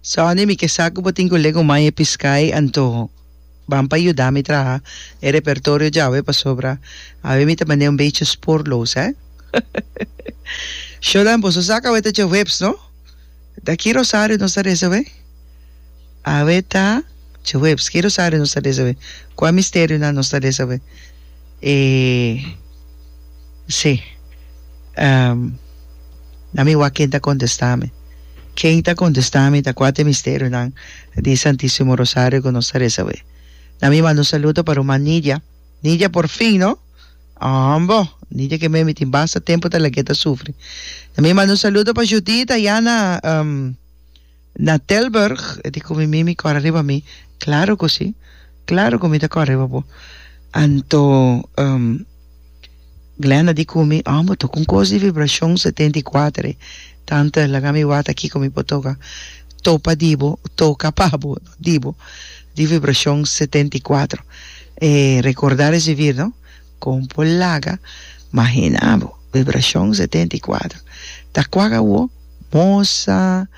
Sonny, mi ke sa ku bo tin ku legumai e piskai anto ban pa yuda mi traha e repertorio djawe pasobra awe mi ta manera un bechi spoorloos hè. Shonan, boso sa ku awe ta djaweps no? Ta ki rosario nos ta reza awe? Awe ta djaweps, ki rosario nos ta reza awe? Kua misterionan nos ta reza awe? E si. Na mi wak ken ta kontestá mi. Ken ta kontestá mi ta kua ta e misterionan di Santísimo Rosario ku nos ta resa awe. Na mi manda un saludo pa ruman Nidia. Nidia por fin no! Hombo! Nidia ke mi tin basta tempu ta lag'é ta sufri. Na mi manda un saludo pa Judith ayá na na Tilburg. E di ku mi mimi kòrda riba mi. Klaro ku si. Klaro ku mi ta kòrda riba bo. Anto. Glenda di ku mi, Oh, bo toka un kos di vibrashon 74 e. Tante, laga mi wak kiko mi por toka. Topa di bo, toka pa bo, no di bo, di vibrashon 74. E recordar es vivir, no? Kon por laga, mahina bo, vibrashon 74. Ta kuak awo? Mosa,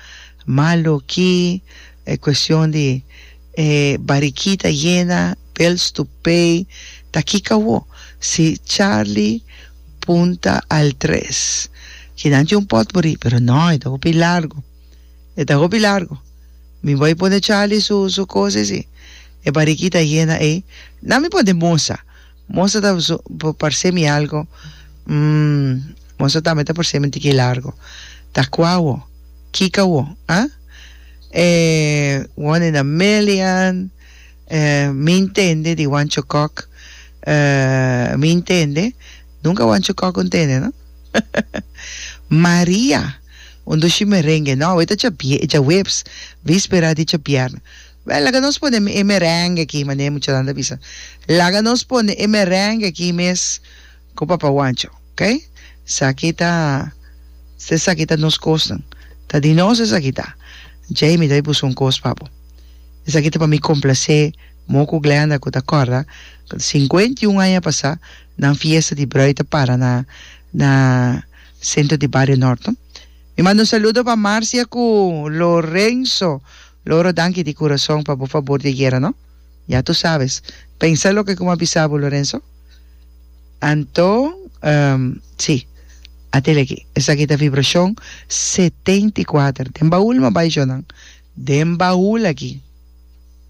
maloki, e kuestion di. E barikita yena, bills to pay, ta kiko awo? Si Charlie punta al tres. Kinan tin un potpourri, pero no, e ta hopi largo. E ta hopi largo. Mi bai pone Charlie su su cos esi. E barikita yena ey. Na mi pone mosa. Mosa ta su parce mi algo, mm, mosa tambe ta parce mi un tiki largo. Ta cua awo? Kiko awo? Ah? E One in a Million, e Mi Intende di Wancho Kok, e Mi Intende, nunca Wancho Kok un tende no? Maria, un dushi merengue, no awe ta djaweps, vispera di djabièrnè. Wel, laga nos pone e merengue aki, manera e muchanan ta bisa. Laga nos pone e merengue aki mes ku Papa Wancho, ok? Esaki ta, esaki ta nos kosnan. Ta di nos esaki ta. Djei mi ta bai buska un kos pa bo. Esaki ta pa mi komplasé Mo ku Glenda ku ta kòrda ku 51 aña pasá nan fiesta di brùid ta para na na Sentro di Bario Nort no. Mi manda un saludo pa Marcia ku Lorenzo. Loro danki di kurason pa bo fabor di ayera no. Ya tu sabes. Pensa loke ku mi a bisa bo Lorenzo. Anto, sí, atele aki. Esaki ta vibrashon 74. Den baul mi a bai, Jonan. Den baul aki.